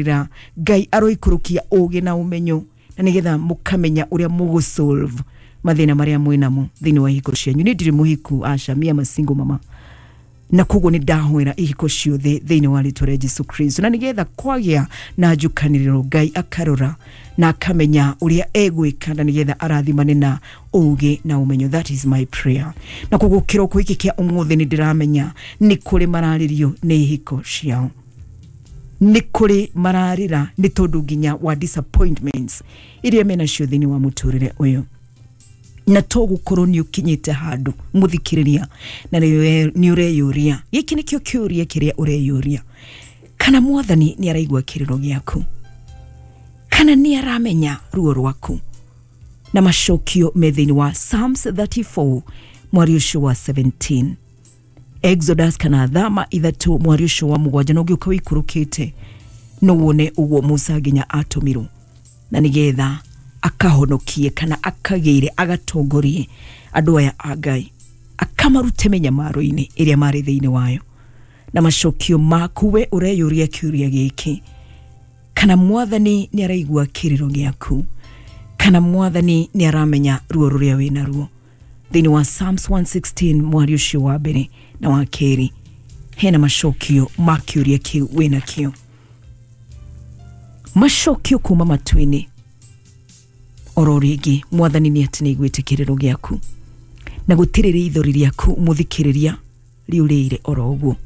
Ra Ngai aroikũrũkia ũgĩ na ũmenyo na nĩgetha mũkamenya ũrĩa mũgũsolve mathĩna marĩa mwĩnamo thĩinĩ wa ihiko cianyu. Nĩ ndirĩ mũhiku, aca, mia masingo mama, na koguo nĩ ndahoera ihiko ciothe thĩinĩ wa rĩtwa rĩa Jesu Kristo, na nĩgetha kwagĩa na njukanĩrĩro, Ngai akarora na akamenya ũrĩa egwĩka na nĩgetha arathimane na ũgĩ na ũmenyo. That is my prayer. Na koguo kĩroko gĩkĩ kĩa ũmũthĩ nĩ ndĩramenya nĩ kũrĩ mararĩrio nĩ ihiko ciao, nĩ kũrĩ mararĩra nĩ tondũ nginya wa disappointments iria menacio thĩinĩ wa mũtũrĩre ũyũ, na to gũkorwo nĩ ũkinyĩte handũ, mũthikĩrĩria, na nĩ ũreyũria, gĩkĩ nĩkĩo kĩũria kĩrĩa ũreyũria, kana Mwathani nĩ araigua kĩrĩro gĩaku, kana nĩ aramenya ruo rwaku. Na macokio me thĩinĩ wa Psalms 34 mwari ũcio wa 17, Exodus kana Thama 3 mwari ũcio wa 7, na ũngĩũka wĩikũrũkĩte no wone ũguo Musa nginya atũmirwo na nĩgetha akahonokie kana akagĩire agatongorie andũ aya a Ngai, akamarute mĩnyamaro-inĩ ĩrĩa marĩ thĩinĩ wayo. Na macokio maku we ũreyũria kĩũria gĩkĩ, kana Mwathani nĩ araigua kĩrĩro gĩaku, kana Mwathani nĩ aramenya ruo rũrĩa wĩna ruo, thĩinĩ wa Psalms 116 mwari ũcio wa mbere na wa kerĩ hena macokio ma kĩũria kĩu wĩna kĩo, macokio kuma matu-inĩ. Oro rĩngĩ, Mwathani nĩ atĩ nĩ aiguĩte kĩrĩro gĩaku, na gũtirĩ rĩithori rĩaku, mũthikĩrĩria, rĩũrĩire oro ũguo.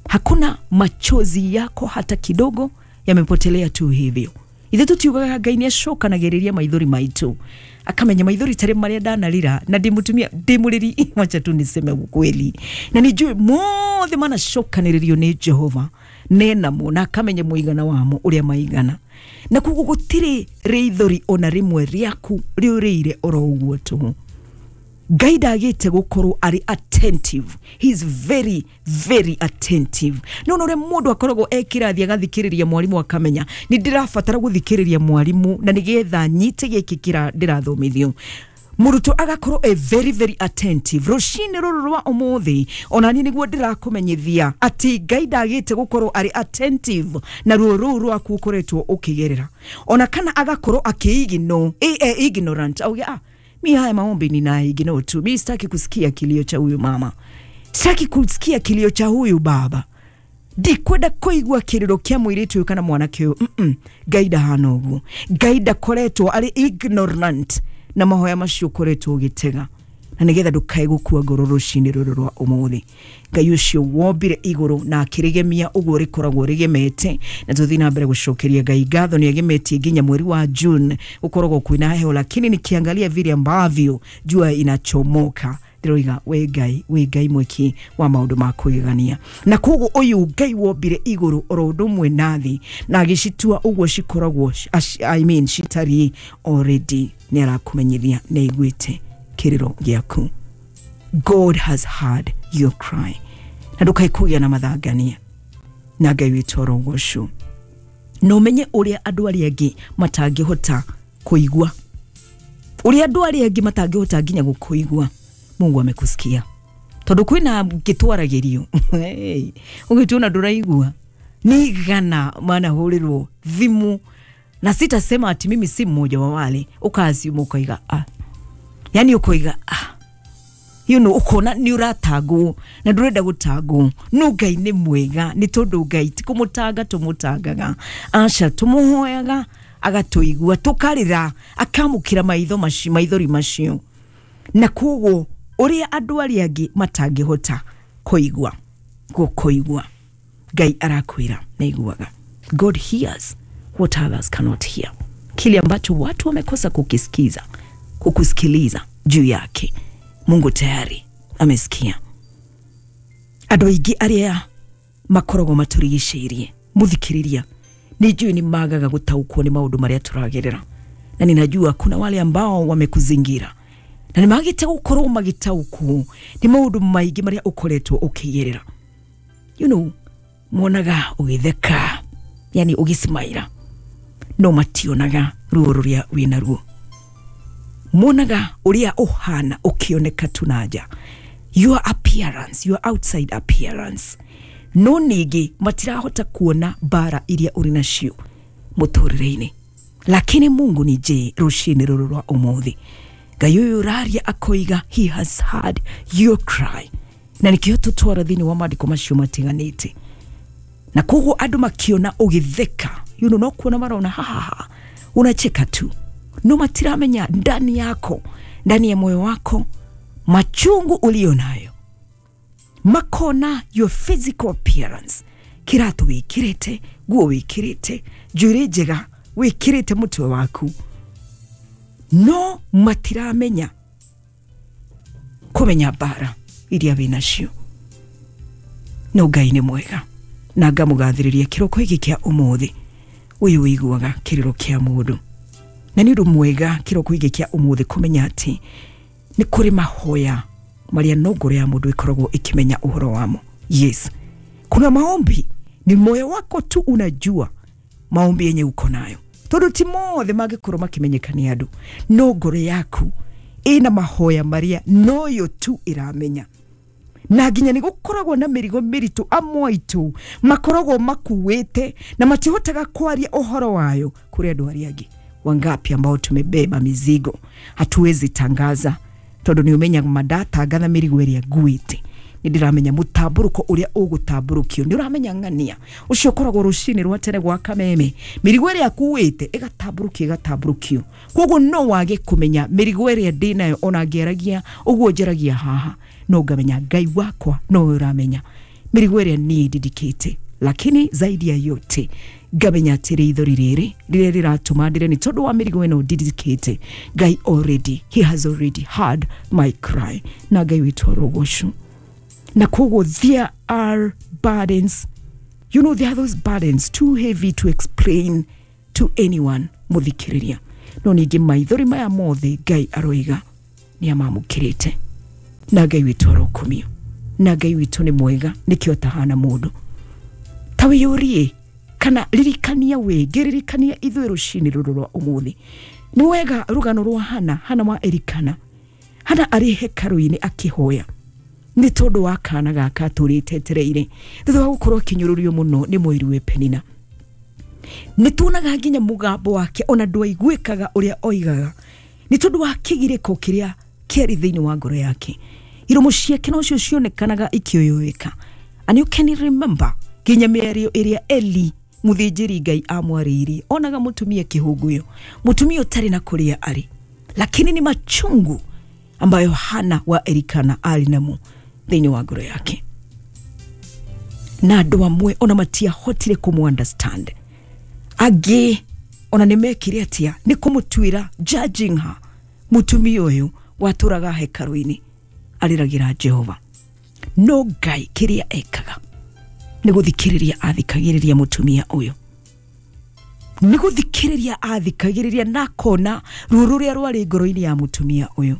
Hakuna machozi yako hata kidogo yamepotelea tu hivyo. Ithe tutiugaga Ngai nĩ acokanagĩrĩria maithori maitũ, akamenya maithori tarĩ marĩa ndanarĩra na ndĩ mũtumia ndĩ mũrĩri, wacha tu niseme ukweli, na nijue mothe manacokanĩrĩrio nĩ Jehova nenamo na akamenya mũigana wamo ũrĩa maigana, na koguo gũtirĩ rĩithori ona rĩmwe rĩaku rĩũrĩire oro ũguo tũhũ. Ngai ndagĩte gũkorwo arĩ attentive. He is very very attentive. No ũrĩa mũndũ akoragwo e kĩrathi agathikĩrĩria mwarimũ, akamenya nĩ ndĩrabatara gũthikĩrĩria mwarimũ na nĩgetha nyite gĩkĩ kĩra ndĩrathomithio, mũrutwo agakorwo e very very attentive. Rũcinĩ rũrũ rwa ũmũthĩ ona niĩ nĩguo ndĩrakũmenyithia atĩ Ngai ndagĩte gũkorwo arĩ attentive na ruo rũu rwaku ũkoretwo ũkĩgerera, ona kana agakorwo akĩ ignorant, auge, "Ah, mi haya maombi nina ignore tu, mi sitaki kusikia kilio cha huyu mama, sitaki kusikia kilio cha huyu baba, ndikwenda kũigua kĩrĩro kĩa mũirĩtu ũyũ kana mwanake ũyũ." Ngai ndahana ũguo. Ngai ndakoretwo arĩ ignorant na mahoya macio ũkoretwo ũgĩtega, na nĩgetha ndũkae gũkua ngoro rũcinĩ rũrũ rwa ũmũthĩ, Ngai ũcio wombire igũrũ na akĩrĩgemia ũguo rĩkoragwo rĩgemete, na tũthiĩ na mbere gũcokeria Ngai ngatho nĩ agemetie nginya mweri wa June gũkoragwo kwĩna heho, lakini nikiangalia vile ambavyo jua inachomoka, ndĩroiga we Ngai, we Ngai mwĩki wa maũndũ ma kwĩgegania. Na koguo ũyũ Ngai wombire igũrũ oro ũndũ ũmwe na thĩ na agĩcitua ũguo cikoragwo, I mean, citariĩ already, nĩ arakũmenyithia nĩ aiguĩte kĩrĩro gĩaku. God has heard your cry, na ndũkae kũgĩa na mathangania na Ngai witũ arogocwo. Na ũmenye ũrĩa andũ arĩa angĩ matangĩhota kũigua, ũrĩa andũ arĩa angĩ matangĩhota nginya gũkũigua, Mungu amekusikia, tondũ kwĩna ngĩtwaragĩrio ũgĩtuona ndũraigua nĩ igana manahũrĩrwo thimũ, na sitasema ati mimi si mmoja wa wale ũkaciuma ũkaiga, ah, yani ũkoiga, ah, ukona nĩ ũratangwo na ndũrenda gũtangwo, no Ngai nĩ mwega, nĩ tondũ Ngai ti kũmũtanga tũmũtangaga, aca, tũmũhoyaga agatũigua, tũkarĩra akamũkĩra maitho macio, maithori macio. Na koguo ũrĩa andũ arĩa angĩ matangĩhota kũigua gũkũigua, Ngai arakwĩra nĩaiguaga. God hears what others cannot hear, kile ambacho watu wamekosa kukisikiza, kukusikiliza juu yake, Mungu tayari amesikia. Andũ aingĩ arĩa makoragwo matũrigicĩirie, mũthikĩrĩria, nĩ njũĩ nĩ magaga gũtaũkwo nĩ maũndũ marĩa tũragerera, na ninajua kuna wale ambao wamekuzingira na nĩ magĩte gũkorwo magĩtaũkwo nĩ maũndũ maingĩ marĩa ũkoretwo ũkĩgerera. Monaga ũgĩtheka, yani ũgĩcimaira, no mationaga ruo rũrĩa wĩna ruo, monaga ũrĩa ũhana ũkĩoneka tu na nja, your appearance, your outside appearance. No ningĩ matirahota kuona mbara iria ũrĩ nacio mũtũrĩre-inĩ. Lakini Mungu ni je rũcinĩ rũrũ rwa ũmũthĩ, Ngai ũyũ ũraria akoiga he has heard your cry. Na nĩkĩo tũtwara thĩinĩ wa maandĩko macio matiganĩte. Na koguo andũ makiona ũgĩtheka, you know, no kuona marona ha ha ha, unacheka tu, no matiramenya ndani yako, ndani ya moyo wako machungu ulio nayo. Makona your physical appearance, kiratu wikirite, nguo wikirite, njuĩrĩ njega wikirite mutwe waku, no matiramenya kumenya mbara iria wĩnacio. No Ngai nĩ mwega na ngamũgathĩrĩria kĩroko gĩkĩ kĩa ũmũthĩ. Ũyũ wĩiguaga kĩrĩro kĩa mũndũ, na nĩ ũndũ mwega kĩroko gĩkĩ kĩa ũmũthĩ kũmenya atĩ nĩ kũrĩ mahoya marĩa no ngoro ya mũndũ ĩkoragwo ĩkĩmenya ũhoro wamo. Yes, kuna maombi ni moyo wako tu unajua maombi yenye uko nayo, tondũ ti mothe mangĩkorwo makĩmenyeka nĩ andũ, no ngoro yaku ĩna mahoya marĩa noyo tu ĩramenya. Na nginya nĩ gũkoragwo na mĩrigo mĩritũ amwe aitũ makoragwo makuĩte na matihotaga kwaria ũhoro wayo kũrĩ andũ arĩa angĩ. Wangapi ambao tumebeba mizigo hatuwezi tangaza, tondũ nĩ ũmenyaga mandatangatha mĩrigo ĩrĩa nguĩte, nĩ ndĩramenya mũtambũrũko ũrĩa ũgũtambũrũkio, nĩ ũramenya ng'ania ũcio ũkoragwo rũcinĩ rwa tene gwa kameme, mĩrigo ĩrĩa akuĩte ĩgatambũrũkio ĩgatambũrũkio. Koguo no wage kũmenya mĩrigo ĩrĩa ndĩnayo, ona ngĩaragia ũguo njaragia haha, no ngamenya Ngai wakwa nowe ũramenya mĩrigo ĩrĩa niĩ ndindikĩte. Lakini zaidi ya yote ngamenya atĩ rĩithori rĩrĩ rĩrĩa rĩratũma ndĩre nĩ tondũ wa mĩrigo ĩno ndindikĩte, Ngai already, he has already heard my cry. Na Ngai witũ arogocwo. Na koguo there are burdens, you know, there are those burdens too heavy to explain to anyone mũthikĩrĩria. No ningĩ maithori maya mothe Ngai aroiga nĩ amamũkĩrĩte. Na Ngai witũ arokumio. Na Ngai witũ nĩ mwega, nĩkĩo atahana mũndũ. Ta wĩyũrie kana ririkania wĩ ngĩririkania ithuĩ rũcinĩ rũrũ rwa ũmũthĩ. Nĩ wega rũgano rwa Hana, Hana wa Elikana. Hana arĩ hekarũ-inĩ akĩhoya nĩ tondũ wa kana gaka atũrĩte etereire thutha wa gũkorwo akĩnyũrũrio mũno nĩ mũiru we Penina. Nĩ tuonaga nginya mũgambo wake ona ndwaiguĩkaga ũrĩa oigaga nĩ tondũ wa kĩgirĩko kĩrĩa kĩarĩ thĩinĩ wa ngoro yake. Iromo ciake nocio cionekanaga ikĩũyũĩka. And you can remember nginya mĩario ĩrĩa Eli mũthĩnjĩri Ngai amwarĩirie, onaga mũtumia kĩhũngũyo, mũtumia ũtarĩ na kũrĩa arĩ, lakini ni machungu ambayo Hana wa Elikana arĩ namo thĩinĩ wa ngoro yake. Na andũ amwe ona matiahotire kũmũ understand, angĩ ona nĩ mekire atĩa nĩ kũmũtuĩra, judging her. Mũtumia ũyũ watũraga hekarũ-inĩ arĩragĩra Jehova. No Ngai kĩrĩa ekaga nĩ gũthikĩrĩria athikagĩrĩria mũtumia ũyũ, nĩ gũthikĩrĩria athikagĩrĩria na akona ruo rũrĩa rwarĩ ngoro-inĩ ya mũtumia ũyũ.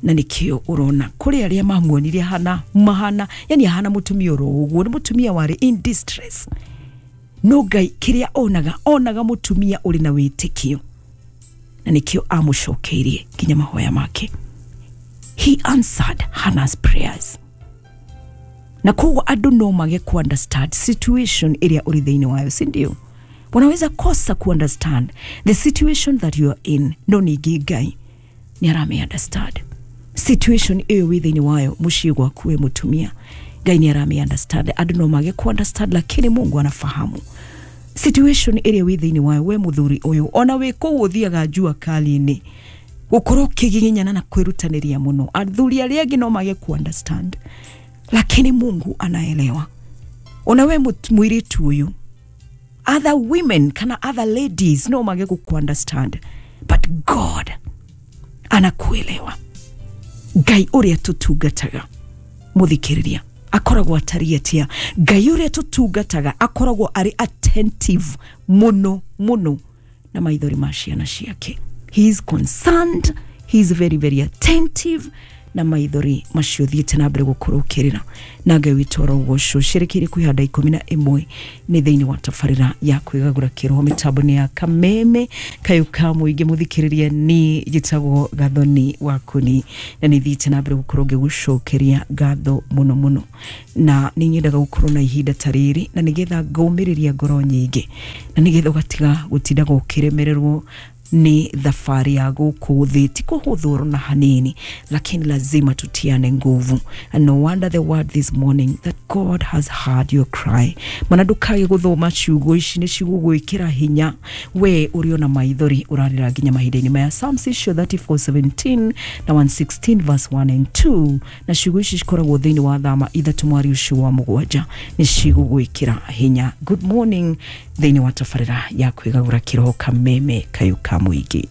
Na nĩkĩo ũrona kũrĩ arĩa mamuonire Hana mahana, yani Hana mũtumia oro ũguo, nĩ mũtumia warĩ in distress. No Ngai kĩrĩa onaga, onaga mũtumia ũrĩ na wĩtĩkio, na nĩkĩo amũcokeirie nginya mahoya make. He answered Hannah's prayers. Na koguo andũ no mage ku understand situation ĩrĩa ũrĩ thĩinĩ wayo, si ndio? Wanaweza kosa ku understand the situation that you are in, no ningĩ Ngai nĩ arame understand situation ĩyo wĩ thĩinĩ wayo mũciĩ gwaku we mũtumia. Ngai nĩ arame understand. Andũ no mage ku understand, lakini Mungu anafahamu situation ĩrĩa wĩ thĩinĩ wayo we mũthuri ũyũ. Ona wĩ kũu ũthiaga jua kali-inĩ, gũkorwo ũkĩgiginyana na kwĩrutanĩria mũno, athuri arĩa angĩ no mage ku understand, lakini Mungu anaelewa. Ona we mũirĩtu ũyũ, other women kana other ladies no mage ku understand, but God anakuelewa. Ngai ũrĩa tũtungataga mũthikĩrĩria akoragwo atariĩ atĩa? Ngai ũrĩa tũtungataga akoragwo arĩ attentive mũno mũno na maithori ma ciana ciake. He is concerned, he is very very attentive. Na maithori macio thiĩte na mbere gũkorwo ũkĩrĩra na Ngai witũ arogocwo. Ciĩrĩkĩire kwĩhanda 11 nĩ thĩinĩ wa tabarĩra ya kwĩgagũra kĩroho mĩtambo-inĩ ya Kameme kayũ ka mũingĩ. Mũthikĩrĩria, ni njĩtagwo Gathoni Wakuni na nĩ thiĩte na mbere gũkorwo ngĩgũcokeria ngatho mũno mũno, na nĩ nyendaga gũkorwo na ihinda ta rĩrĩ na nĩgetha ngũmĩrĩria ngoro nyingĩ na nĩgetha ũgatiga gũtindaga ũkĩremererwo nĩ thabarĩ ya gũkũ thĩ. Ti kũhũthũrwo na hanini, lakini lazima tutiane nguvu. And no wonder the word this morning that God has heard your cry. Mana ndũkage gũthoma ciugo ici, nĩ cigũgwĩkĩra hinya we ũrĩ ona maithori ũrarĩra nginya mahinda-inĩ maya. Psalms icio 34:17 na 116 verse 1 and 2, na ciugo ici cikoragwo thĩinĩ wa thama 3 mwari ũcio wa 7, nĩ cigũgwĩkĩra hinya. Good morning thĩinĩ wa tabarĩra ya kwĩgagũra kĩroho, Kameme kayũ ka mũingĩ.